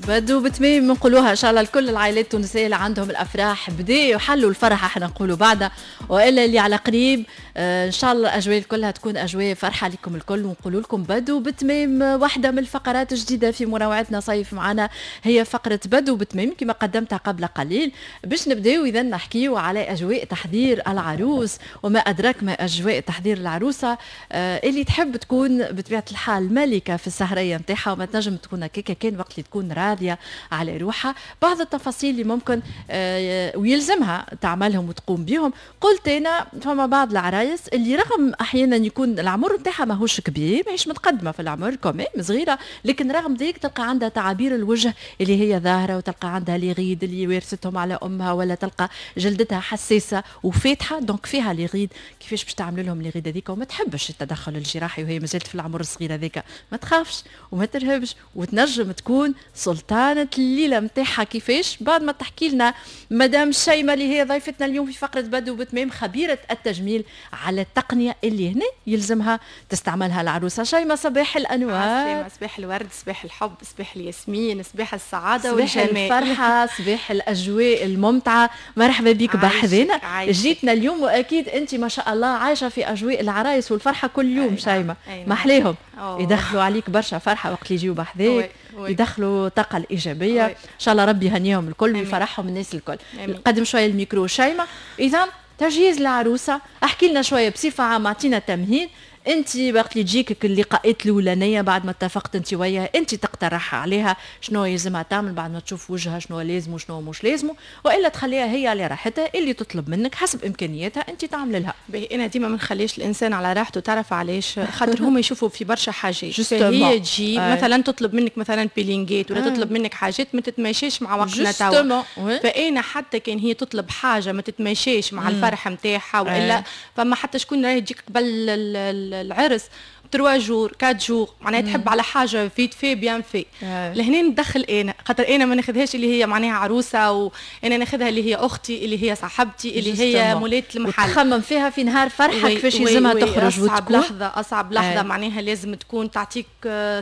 بدو بتميم نقولوها ان شاء الله لكل العائلات التونسية اللي عندهم الافراح بداوا حلوا الفرح، احنا نقولوا بعدها، والا اللي على قريب ان شاء الله الاجواء كلها تكون اجواء فرحه لكم الكل. ونقولوا لكم بدو بتميم، واحدة من الفقرات الجديدة في منوعتنا صيف معنا هي فقره بدو بتميم كما قدمتها قبل قليل، باش نبداو اذا نحكيو على اجواء تحضير العروس وما ادراك ما اجواء تحضير العروسة اللي تحب تكون بطبيعة الحال ملكه في السهريه نتاعها، وما تنجم تكون هكاكا كان وقت اللي تكون راضية على روحها. بعض التفاصيل اللي ممكن ويلزمها تعملهم وتقوم بهم. قلت انا فما بعض العرايس اللي رغم احيانا يكون العمر نتاعها ماهوش كبير، ماهيش متقدمة في العمر quand même صغيره، لكن رغم ذلك تلقى عندها تعابير الوجه اللي هي ظاهره، وتلقى عندها les rides اللي ورثتهم على امها، ولا تلقى جلدتها حساسة وفاتحه، donc فيها les rides. كيفاش باش تعمل لهم les rides هذيك وما تحبش التدخل الجراحي وهي مازالت في العمر الصغير هذاك؟ ما تخافش وما ترهبش وتنجم تكون سلطانة الليلة متاعها. كيفاش؟ بعد ما تحكي لنا مدام شيماء اللي هي ضيفتنا اليوم في فقرة بدو بتمام، خبيرة التجميل، على التقنية اللي هنا يلزمها تستعملها العروسة. شيماء، صباح الأنوار. صباح الورد، صباح الحب، صباح الياسمين، صباح السعادة صباح والجمال، الفرحة، صباح الأجواء الممتعة. مرحبا بك بحذنا، جيتنا اليوم، وأكيد أنت ما شاء الله عايشة في أجواء العرايس والفرحة كل يوم. شيماء، ما أحلاهم، يدخلوا عليك برشا فرحة وقت اللي يجيو بحذاك، يدخلوا الطاقة الإيجابية. إن شاء الله ربي يهنيهم الكل ويفرحهم الناس الكل. قدم شوية الميكرو شيماء. إذا تجهيز العروسة، احكي لنا شوية بصفة عامة، اعطينا تمهيد. انت وقت اللي تجيك اللقاءات الاولانية بعد ما اتفقت انت وياها، انت تقترح عليها شنو يلزمها تعمل بعد ما تشوف وجهها، شنو لازم وشنو مش لازم، والا تخليها هي على راحتها، اللي تطلب منك حسب امكانياتها انت تعمل لها؟ باهي، انا ديما ما نخليش الانسان على راحته. تعرف علاش؟ خاطر هما يشوفوا في برشا حاجات. هي تجي مثلا تطلب منك مثلا peeling ات ولا تطلب منك حاجات ما تتماشاش مع وقتنا توا. فانا حتى كان هي تطلب حاجة ما تتماشاش مع الفرح نتاعها، والا فما حتى شكون راهي تجيك قبل العرس 3 jours، 4 jours، معناها تحب على حاجة vite fait bien fait. لهنا ندخل انا، خاطر انا ما ناخذهاش اللي هي معناها عروسه، وانا ناخذها اللي هي اختي، اللي هي صاحبتي، اللي هي مولات المحل. تخمم فيها في نهار فرحه كيفاش يلزمها تخرج. اصعب لحظه، اصعب لحظه. معناها لازم تكون تعطيك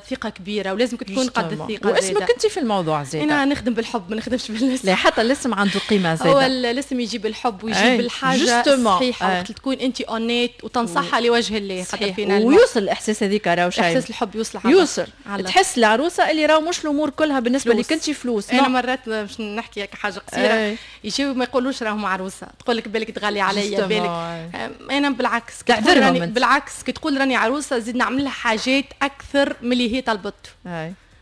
ثقة كبيرة ولازم تكون قد الثقه. واسمك انت في الموضوع زاد. انا نخدم بالحب، ما نخدمش بالاسم. لا، حتى الاسم عنده قيمة زاد. هو الاسم يجيب الحب ويجيب الحاجة الصحيحه، وقت تكون انت honnête وتنصحها لوجه الله. خاطر فينا ويوصل الاحساس هذيك راهو. شيء احساس الحب يوصل. يوصل، تحس العروسة اللي راهو مش الامور كلها بالنسبة لك انت فلوس. انا مرات باش نحكي حاجة قصيره، يجيو ما يقولوش راهم عروسه، تقول لك بالك تغلي عليا بالك. انا بالعكس، تعذرهم. بالعكس، كي تقول راني عروسه زيد نعمل لها حاجات اكثر من اللي هي طلبته،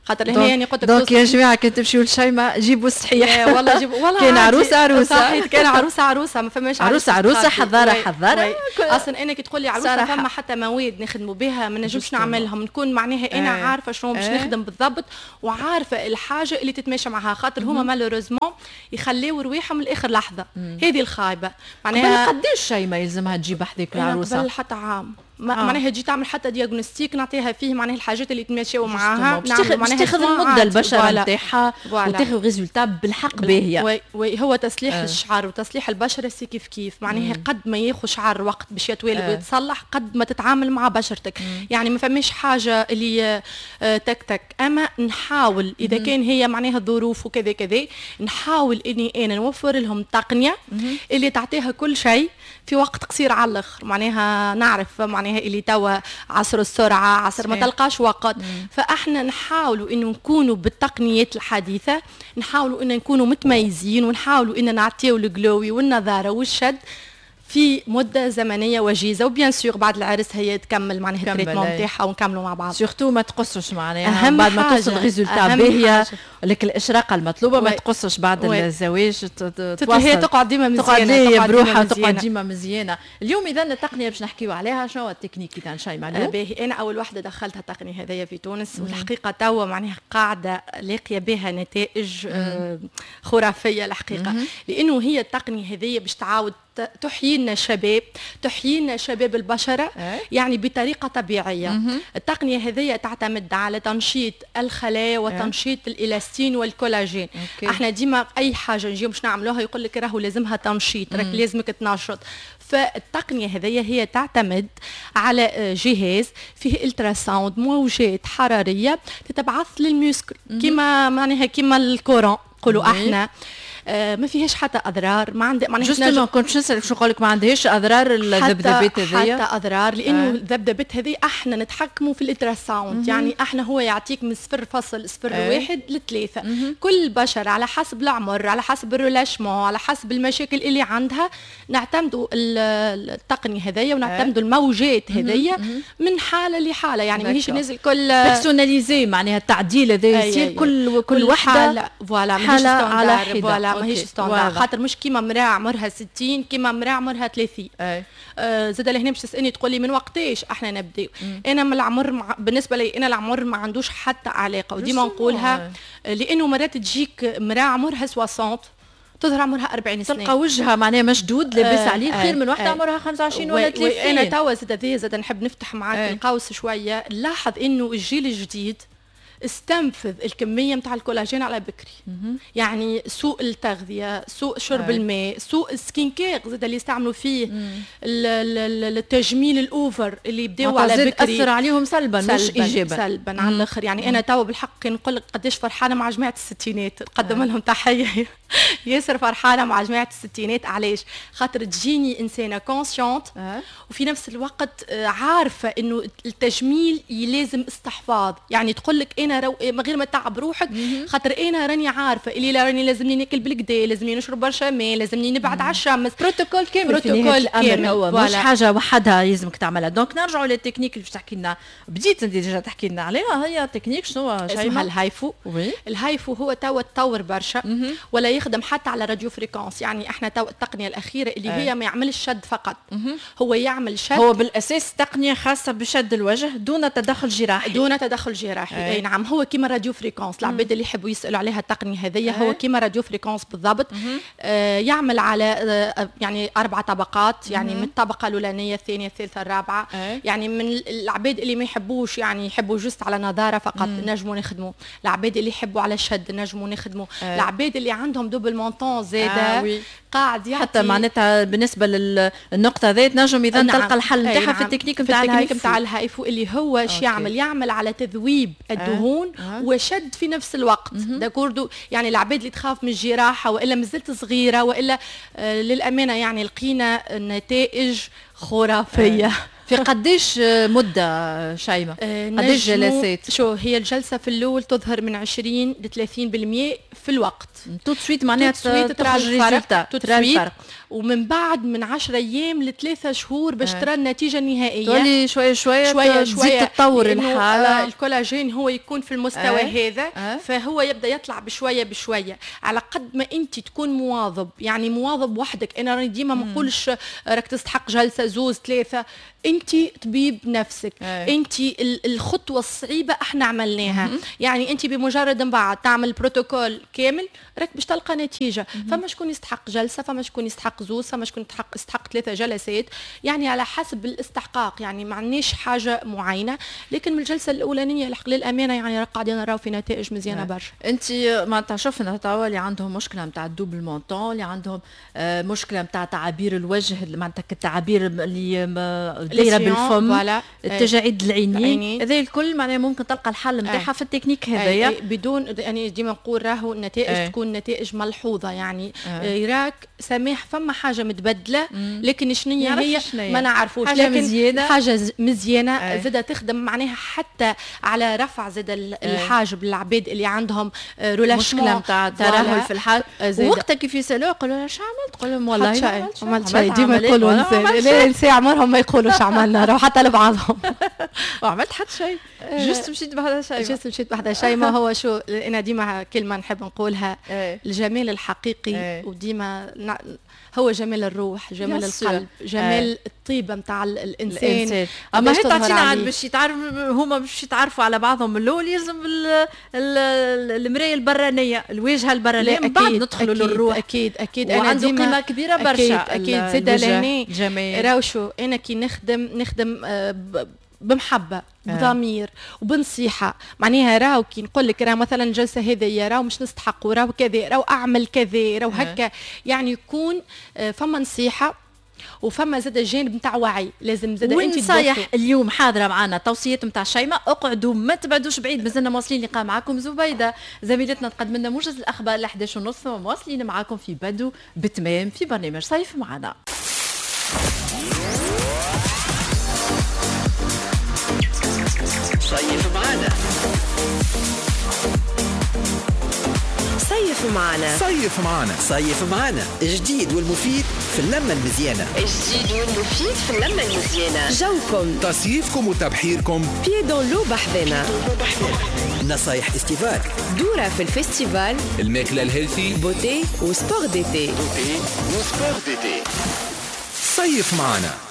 خاطر هنا يعني قلت لك. donc يا جماعه، كي تمشيو لشيماء جيبوا الصحيح. والله جيبوا والله. كان عروسه عروسه. صحيح، كان عروسه عروسه، ما فماش عروسه عروسه، حضارة حضاره. اصلا انا كي تقول لي عروسه فما حتى مواد نخدموا بها ما نجمش نعملهم، نكون معناها انا عارفه شنو باش نخدم بالضبط وعارفه الحاجة اللي تتماشى معها، خاطر هما malheureusement يخليو رواحهم لاخر لحظه، هذه الخايبة. معناها قداش شيماء يلزمها تجيب حذاك العروسة؟ قبل حتى عام. معناها تجي تعمل حتى diagnostic نعطيها فيه معناها الحاجات اللي تماشيو معاها. باش تاخذ المدة البشرة نتاعها وتاخذ résultat بالحق باهيه. oui oui، هو تصليح الشعر وتصليح البشرة c'est كيف كيف، معناها قد ما ياخذ شعر وقت باش يتوالد ويتصلح قد ما تتعامل مع بشرتك. يعني ما فماش حاجة اللي تك تك، اما نحاول اذا كان هي معناها الظروف وكذا كذا، نحاول اني انا نوفر لهم تقنية اللي تعطيها كل شيء في وقت قصير على الاخر. معناها نعرف معناها اللي توا عصر السرعه، عصر ما تلقاش وقت. فاحنا نحاولوا انه نكونوا بالتقنيات الحديثه، نحاولوا ان نكونوا متميزين، ونحاولوا ان نعطيو ال glowy والنضاره والشد في مده زمنية وجيزه. و bien sûr بعد العرس هي تكمل معناها ال traitement نتاعها ونكملوا مع بعض. surtout ما تقصش، معناها بعد ما توصل résultat باهيه لك، الاشراقه المطلوبه، ما تقصش بعد الزواج. هي تقعد ديما مزيانه. تقعد بروحها، تقعد ديما مزيانه. اليوم اذا التقنية باش نحكيو عليها، شنو التكنيك اذا شيماء؟ باهي، انا اول واحدة دخلتها التقنية هذيا في تونس، والحقيقة توا معناها قاعدة لاقيه بها نتائج خرافية الحقيقه، لانه هي التقنية هذيا باش تعاود تحيي لنا الشباب، تحيي لنا شباب البشرة يعني بطريقة طبيعيه. التقنية هذه تعتمد على تنشيط الخلايا وتنشيط الالاستين والكولاجين. احنا ديما اي حاجة نجيو باش نعملوها يقول لك راهو لازمها تنشيط، راك لازمك تنشط. فالتقنيه هذه هي تعتمد على جهاز فيه ultrasound، موجات حرارية تتبعث لل muscle، كما معناها كما ال courant نقولوا احنا. ما فيهاش حتى اضرار، ما عندي معناها justement كنت نسالك شو نقول لك، ما عندهاش اضرار الذبذبات هذيا؟ حتى اضرار، لانه الذبذبات هذه احنا نتحكموا في ال ultrasound. يعني احنا هو يعطيك من 0.01 ل3. كل بشر على حسب العمر، على حسب ال relâchement، على حسب المشاكل اللي عندها، نعتمدوا التقنية هذيا ونعتمدوا الموجات هذيا من حاله لحاله، يعني ماهيش الناس الكل personnalisé، معناها التعديل هذا يصير كل وحده voilà حاله على حده. voilà، ماهيش standard، خاطر مش كيما مراة عمرها 60 كيما مراة عمرها 30. زاد لهنا باش تسالني تقول لي من وقتاش احنا نبداو؟ انا من العمر بالنسبة لي انا العمر ما عندوش حتى علاقه، وديما نقولها، لانه مرات تجيك مراة عمرها 60 تظهر عمرها 40 سنه، تلقى وجهها معناها مشدود لاباس عليه خير من واحدة عمرها 25 ولا 30. انا توا زاد نحب نفتح معاك القوس شويه. نلاحظ انه الجيل الجديد استنفذ الكمية نتاع الكولاجين على بكري. يعني سوء التغذيه، سوء شرب الماء، سوء ال skin care زاد اللي يستعملوا فيه، التجميل ال over اللي يبداو على بكري اثر عليهم سلبا، مش ايجابا. سلبا على الاخر. يعني انا توا بالحق نقول لك قداش فرحانة مع جماعة الستينات، نقدم لهم تحيه، ياسر فرحانة مع جماعة الستينات. علاش؟ خاطر تجيني انسانه consciente وفي نفس الوقت عارفه انه التجميل لازم استحفاظ، يعني تقول لك انا من غير ما تعب روحك، خاطر انا راني عارفه اللي راني لازمني ناكل بالقدا، لازمني نشرب برشا ماء، لازمني نبعد على الشمس. بروتوكول كامل. بروتوكول كامل هو مش حاجة وحدها لازمك تعملها. donc نرجعوا للتكنيك اللي باش تحكي لنا، بديت انت déjà تحكي لنا عليها، هي تكنيك شنو؟ اسمها ال HIFU. ال HIFU هو توا تطور برشا ولا يخدم حتى على radiofréquence. يعني احنا توا التقنية الاخيرة اللي هي ما يعملش شد فقط، هو يعمل شد. هو بالاساس تقنية خاصة بشد الوجه دون تدخل جراحي. دون تدخل جراحي، اي نعم. هو كيما radiofréquence، العباد اللي يحبوا يسالوا عليها التقنية هذيا، هو كيما radiofréquence بالضبط. يعمل على يعني اربع طبقات، يعني من الطبقة الاولانيه، الثانيه، الثالثه، الرابعه. يعني من العباد اللي ما يحبوش، يعني يحبوا juste على نظاره فقط، نجموا نخدموا. العباد اللي يحبوا على الشد نجموا نخدموا. العباد اللي عندهم double menton زاده قاعد يعطي حتى معناتها بالنسبة للنقطة ذات نجم اذا تلقى الحل نتاعها في التكنيك نتاع التكنيك نتاع ال HIFU، اللي هو شو يعمل؟ يعمل على تذويب الدهون وشد في نفس الوقت، d'accord؟ يعني العباد اللي تخاف من الجراحة والا مازلت صغيرة والا للامانة يعني لقينا نتائج خرافيه. في قديش مدة شيماء؟ قديش جلسات؟ شو هي الجلسة في الأول تظهر من 20 ل 30% في الوقت. tout de suite معناها ترى الفرق، ترى الفرق، ومن بعد من 10 ايام ل3 شهور باش ترى النتيجة النهائيه. تولي شوية شوية شوية شوية تتطور الحاله. الكولاجين هو يكون في المستوى هذا، فهو يبدا يطلع بشوية بشويه، على قد ما انت تكون مواظب، يعني مواظب وحدك. انا راني ديما ما نقولش راك تستحق جلسه، زوز، ثلاثه. انت طبيب نفسك. انت الخطوة الصعيبه احنا عملناها. يعني انت بمجرد من بعد تعمل بروتوكول كامل راك باش تلقى نتيجه. فما شكون يستحق جلسه، فما شكون يستحق زوز، فما شكون يستحق ثلاثة جلسات، يعني على حسب الاستحقاق، يعني ما عندناش حاجة معينه، لكن من الجلسة الاولانية الحق للامانة يعني قاعدين نراو في نتائج مزيانه برشا. انت معناتها شفنا توا اللي عندهم مشكلة نتاع ال double menton، اللي عندهم مشكلة نتاع تعابير الوجه، معناتها التعابير اللي دايرة بالفم، التجاعيد العينين، هذا الكل معناها ممكن تلقى الحل نتاعها في التكنيك هذايا. بدون يعني ديما نقول راهو النتائج تكون نتائج ملحوظه، يعني يراك سماح فما حاجة متبدله، لكن شنو هي ما نعرفوش. حاجة لكن مزيانه. حاجة مزيانه زاده تخدم معناها حتى على رفع زاد الحاجب للعباد اللي عندهم relâchement، مشكلة نتاع ترهل في الحاجب. وقتها كيف يسالوه يقولوا اش عملت؟ تقول لهم والله ما عملت شيء. ديما يقولوا، لا، نساء عمرهم ما يقولوا اش عملنا، حتى لبعضهم. ما عملت حتى شيء. juste مشيت بحذا شيماء. juste مشيت بحذا شيماء. هو شو انا ديما كلمة نحب نقولها، الجمال الحقيقي وديما هو جمال الروح، جمال القلب، جمال الطيبة نتاع الانسان. اما هي تعطينا عاد باش يتعرف، هما باش يتعرفوا على بعضهم من الاول يلزم المراية البرانيه، الواجهة البرانيه، من بعد ندخلوا للروح. اكيد اكيد، انا عنده قيمة كبيرة برشا. اكيد زاد لهنا راهو شو انا كي نخدم بمحبة، بضمير وبنصيحه. معناها راهو كي نقول لك راه مثلا الجلسة هذه راهو مش نستحق، راهو كذا، راهو اعمل كذا، راهو هكا، يعني يكون فما نصيحة وفما زاد جانب نتاع وعي لازم زاد انت. ونصايح اليوم حاضره معنا توصيات نتاع شيماء. اقعدوا ما تبعدوش بعيد، مازلنا مواصلين لقاء معكم زبيده زميلتنا تقدم لنا موجز الاخبار 11:30، مواصلين معاكم في بدو بتمام في برنامج صيف معنا. صيف معنا، صيف معنا، صيف معنا، صيف معنا، الجديد والمفيد في اللمة المزيانة، الجديد والمفيد في اللمة المزيانة، جوكم تصيفكم وتبحيركم pieds dans l'eau بحذنا، نصايح estival، دورة في ال festival، الماكلة ال healthy، beauté و sport d'été، beauté و sport d'été. صيف معنا.